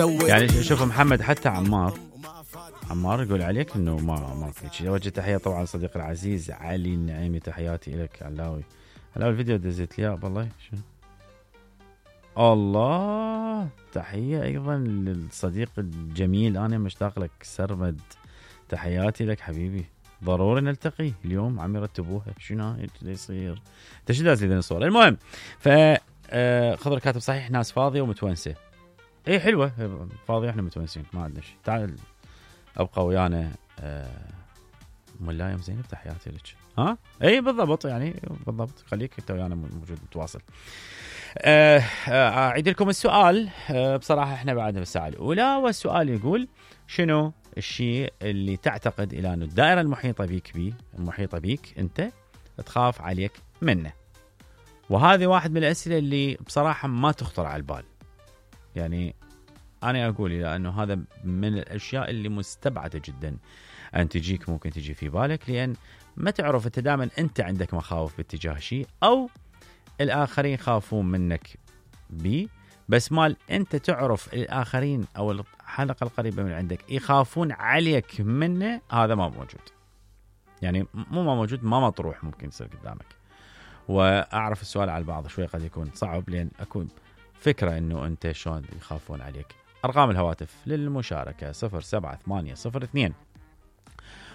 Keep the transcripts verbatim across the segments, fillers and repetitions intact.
يعني شوف محمد حتى عمار عمار يقول عليك انه ما ما في شيء. وجه تحيه طبعا صديقي العزيز علي النعيمي، تحياتي لك علاوي. علاوي الفيديو دزيت لي والله شنو الله. تحيه ايضا للصديق الجميل، انا مشتاق لك سرمد، تحياتي لك حبيبي. ضروري نلتقي اليوم، عم يرتبوها شنو يصير. انت شو داز لي الصوره؟ المهم ف خضر كاتب صحيح ناس فاضيه ومتونسه. اي حلوه فاضيه احنا متونسين ما عندنا شيء. تعال ابقى ويانا ملايم زينب، تحياتي لك. ها اي بالضبط يعني بالضبط، خليك انت ويانا موجود نتواصل. اعيد لكم السؤال. أه بصراحه احنا بعدنا بالساعه الاولى، والسؤال يقول شنو الشيء اللي تعتقد الى انه الدائره المحيطه بيك بي المحيطه بيك انت تخاف عليك منه. وهذه واحد من الاسئله اللي بصراحه ما تخطر على البال. يعني انا اقول الى انه هذا من الاشياء اللي مستبعده جدا ان تجيك، ممكن تجي في بالك، لان ما تعرف انت دائما انت عندك مخاوف باتجاه شيء، او الاخرين خافون منك بي، بس مال انت تعرف الاخرين او الحلقه القريبه من عندك يخافون عليك منه، هذا ما موجود. يعني مو ما موجود، ما مطروح، ممكن يصير قدامك. واعرف السؤال على البعض شوي قد يكون صعب، لان اكون فكره انه انت شلون يخافون عليك. ارقام الهواتف للمشاركه صفر سبعة ثمانية صفر اثنين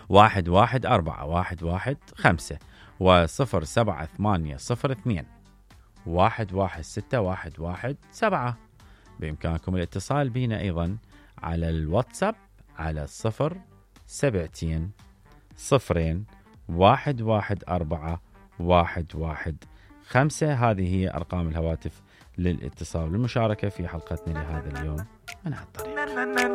واحد واحد أربعة واحد واحد خمسة وصفر سبعة ثمانية صفر اثنين واحد واحد ستة واحد واحد سبعة. بإمكانكم الاتصال بنا أيضا على الواتساب على صفر سبعتين صفرين واحد واحد أربعة واحد واحد خمسة. هذه هي أرقام الهواتف للاتصال والمشاركة في حلقتنا لهذا اليوم من هالطريقة.